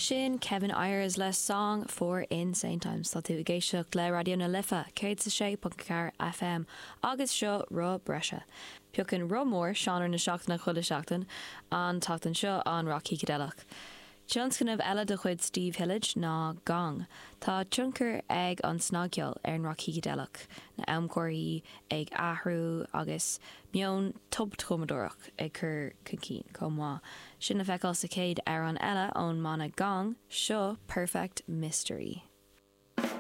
Sin Kevin Ayers le Song for Insane Times. Tá tú ag éisteacht le Raidió na Life 106.4 FM agus seo Roth Breise. Piocann Roth Mór seánra na seachtaine chuile sheachtain, an tseachtain seo an rac shícideileach. Tionscnamh eile de chuid Steve Hillage ná Gong. Tá tionchar ag an snagcheol ar an rac shícideileach, na amchomharthaí ag athrú agus meon tobchumadóireach ag cur chun cinn chomh maith. Sin le feiceáil sa chéad amhrán eile ón mbanna Gong, seo Perfect Mystery.